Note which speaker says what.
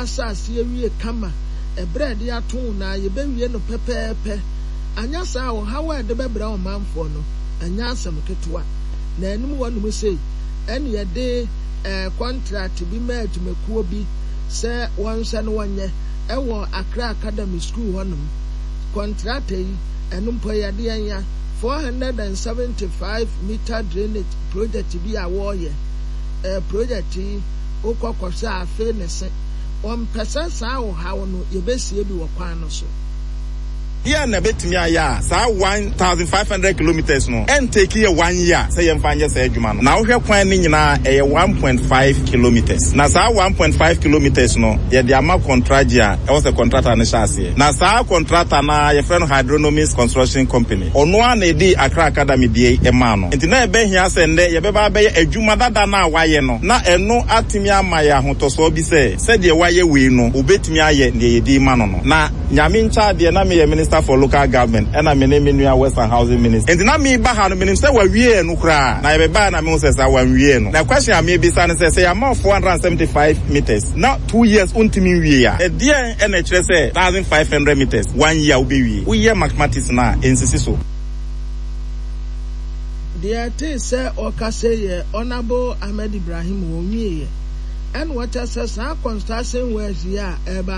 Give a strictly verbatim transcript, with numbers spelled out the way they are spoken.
Speaker 1: Asase awie kama ɛberɛ a yɛde ato wo na yɛbɛwie no pɛpɛɛpɛ. Anyɛ saa a, ɔhaw a ɛde bɛbrɛ ɔmanfoɔ no, ɛnyɛ asɛm ketewa. Na anim hɔnom sei, ɛne yɛde eh, contract bi ma adwumakuo bi sɛ wɔnhwɛ no wɔnyɛ ɛwɔ Accra Academy School hɔnom. Contractor yi, ɛno mpo yɛde yɛn ya four hundred and seventy-five meter drainage project bi a wɔreyɛ. Eh, project yi, wokɔ kɔhwɛ a, afei ne se wɔmpɛ sɛ saa ɔhaw no yɛbɛsie bi wɔ kwan no so.
Speaker 2: Yɛ na bɛtumi ayɛ a saa one thousand five hundred kilometers no ɛntake yɛ one year sɛ yɛmfa nyɛ saa adwuma no. Na wohwɛ kwan no nyinaa, ɛyɛ one point five kilometers. Na saa one point five kilometers no, yɛde ama contract a ɛwɔ sɛ contractor no hyɛ aseɛ. Na saa contractor no a yɛfrɛ no Hydronomics Construction Company, ɔno a na ɛdi Accra Academy deɛ ɛmaa no. Nti na ɛbɛhia sɛ nnɛ yɛbɛba abɛyɛ adwuma dada no a wayɛ no, na ɛno atumi ama yɛ ahotɔsoɔ bi sɛ sɛdeɛ wayɛ wei no, obɛtumi ayɛ deɛ yɛde ma no no Na Nyame nkyɛ adeɛ, na meyɛ Minister for Local Government, ɛna me ne me nua Works and Housing Minister. Nti na meba ha no, menim sɛ wawie no koraa. Na yɛbɛbaa na mehu sɛ saa wanwie no. Na question a mebisa no sɛ sɛ yɛama four hundred and seventy-five meters na two years wontumi nwie a, ɛdeɛn ɛna ɛkyerɛ sɛ one thousand five hundred meters, one year wobɛwie? Woyɛ mathematics no a, ɛnsisi so.
Speaker 1: Deɛ ɛtee sɛ ɔkasa yɛ Honourable Ahmed Ibrahim. Wɔnwieɛ ɛna wɔkyɛ sɛ saa construction works yi a ɛreba